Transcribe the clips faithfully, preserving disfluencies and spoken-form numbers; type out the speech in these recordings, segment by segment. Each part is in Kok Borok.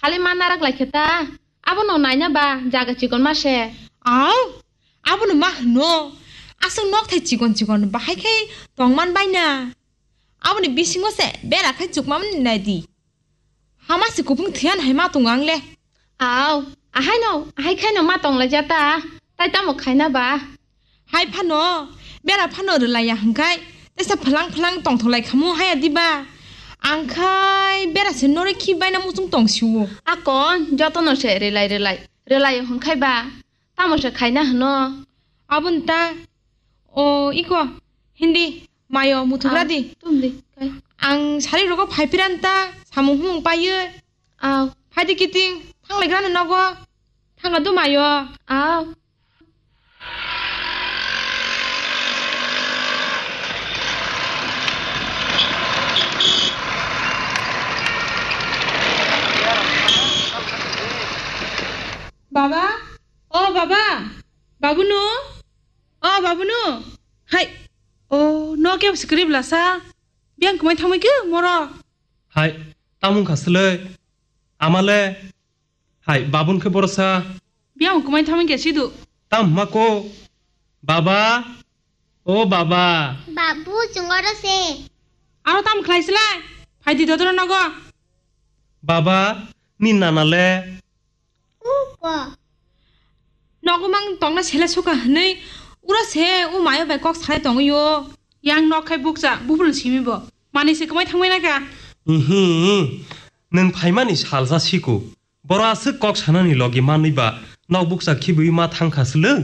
Tali ma narak lai khe ta. Abono naina ba jaga chikon ma se. Au, abono ma hwno. Aswk nok thai chikon chikon bahai khe tong man bai na. Aboni bisingo se bera khai chukma mani nai di. Hama se kupung thiyan hai ma tongo ang le. Au, ahai no, ahai khai no ma tong lai ja ta. Tai tamo khaina ba? Hai phano, bera phano rwlaiya hwnkhe, teisa phwlang phwlang tongtholai khamu haya diba? Ang khai bera se noroi khi baina muchung tong siwo. Akon, jotono se rwlai rwlai, rwlai hwnkhai ba, tamo se khaina hwno? Aboni ta, o iko, hindi, mayo muthuk radi. Tum di, kai. Ang sari rogo phai piran ta, samung humung payo. Au. Phaidi kiting, thanglaigrani nogo. Thangla dumayo. Au. Baba, o baba, babunu, o babunu. Hai, o no kebo sikri blasa. Biang kumai thamai ke moro. Hai, tamung kha sile. Amale. Hai, babun khe borosa. Biang kumai thamai khe sidu. Tam hma ko. Baba. O baba. Babu, chungoro se. Aro tam khlai silai. Phaidi dodoro nogo. Baba, ni nana le. Uko. Nogo mang tongna sele suka hwnwi. Ura se, o mayo bai kok salai tongwi o. Yang nok khai bukcha, bubul simi bo. Mani se kumai thangbai naka. Ihi, nung phaimani salsa siko. Boro aswk kok sanani logi manwi ba nok bukcha khibwi ma thangkha swlwng?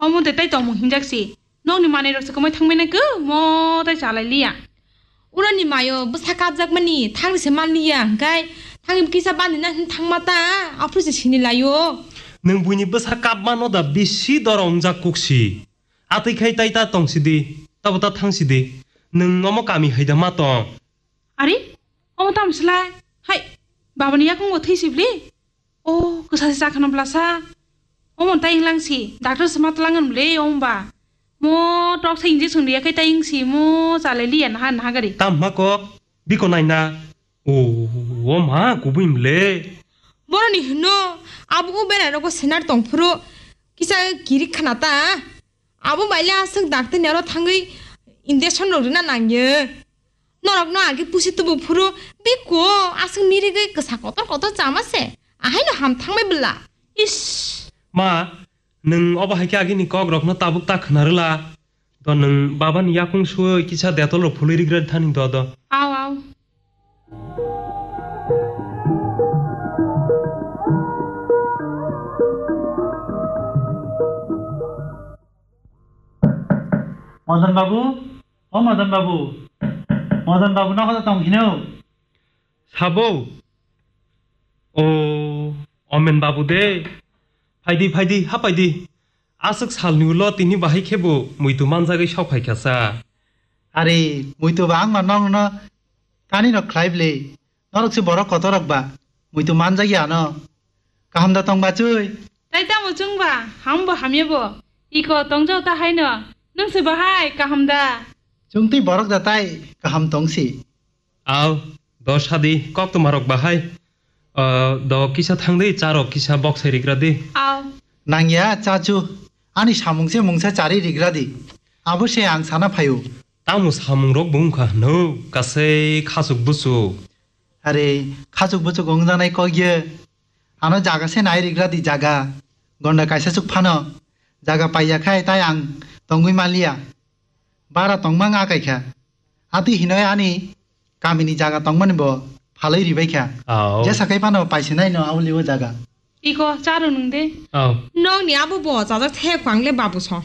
Omo de tai tongmung hinjak si. Nokni manwi rok se kwmai thangmani khe mo tai chalai liya. Urani mayo bwsa kapjak mani thangni se man liya hwnkhe thangni kisa bani na hin thangma ta aphuru se sini laio. Nwng buini bwsa kap mano da bisi doro wngjak kuk si. Atwi khai tai ta tong si di, tabo ta thang si di. Nwng omo kami hai da ma tong. Ari, omo tamo slai? Hai, babani yakung bo thwi sibli? O, kwsa se chakhano blasa. Omo tai wnglang si, doctor se ma tlang wng le, omo ba. Mo tok se injection riya khai tai wng si, mo chalai liya naha naha gari. Tam ma kok, biko nai na. O, o ma, kubui mle. Boroni hino, abo o berai rogo senar tong phuru, kisa kirik khana ta. Abo bai le aswk doctor ni aro thangwi injection rok rina nangyo. Norokno agi pusi tubu phuru biko aswk mirigwi kwsa kotor kotor chama se. Ahaino ham thangbai bwla. Ish. Ma, nwng obo hai khe agini kok rokno tabuk ta khna rwla. Do nwng baba ni yakung suwi kisa detol rok phului rigra thani do do. Aw, aw. Madan babu, O Madan babu, Madan babu nogo tong hino? Sabo? O, Omen babu de. Phaidi, phaidi, ha phaidi. Aswk salni ulo tini bahai khebo muitu manjagwi sok phaikha sa. Are, muitu ba ang ma nong no kani no khlai bwle. Norok se borok kotor rok ba, muitu manjak ya no. Kaham da tong ba chwi? Tai tamo chwng ba, ham bo hamya bo. Iko tong jao ta hai no. Nwng se bahai kaham da? Chwng twi borok da tai kaham tong si. Aw, do sadi kok tuma rok bahai. Ah, do kisa thang di, cha rok kisa bok sai rigra di. Aw. Nang ya cha chu. Ani samung se mungsa chari rigra di. Abo se ang sana phaio. Tamo samung rok bo wngkha hwno, kasai khachuk buchuk. Are, khachuk buchuk wngjaknai kok ye. Ano jaga se nai rigra di jaga. Gonda kaisa chuk phano. Jaga paiya khai tai ang tongwi manliya. Bara tongmang akai kha. Atwi hinoi ani kamini jaga tongmani bo phalwi ribai kha. Au. Jesa kai phano paisinai no auli o jaga. Iko, charo nwng de. Au. Nokni abo bo chajak the kwang le babu song.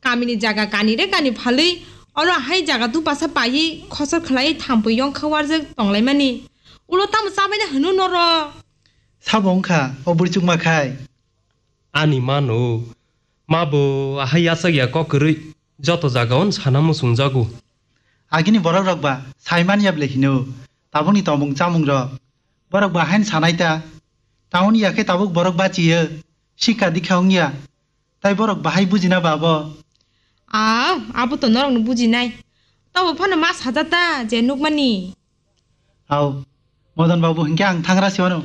Kamini jaga kani re kani phalwi, oro hai jaga dupasa paiwi khosor khlaiwi thampui yongkha warjak tonglaimani. Ulo tamo chabaina hwno noro? Sabo wngkha, o bwrwi chukma khai. Ani mano, ma bo ahai yachak ya kok kwrwi, joto jaga on sana muchung jago. Agini borok rok ba sai man ya ble hino, tabukni tongmung chamung rok. Borok ba hain sanai ta, town ya khe tabuk borok bachiyo, sikha dikha wng ya. Tai borok bahai bujina ba abo? Aw, abo to norokno bujinai. Tobo phano ma sajata je nukmani. Aw, Madan babu hinkhe ang thangra se wano.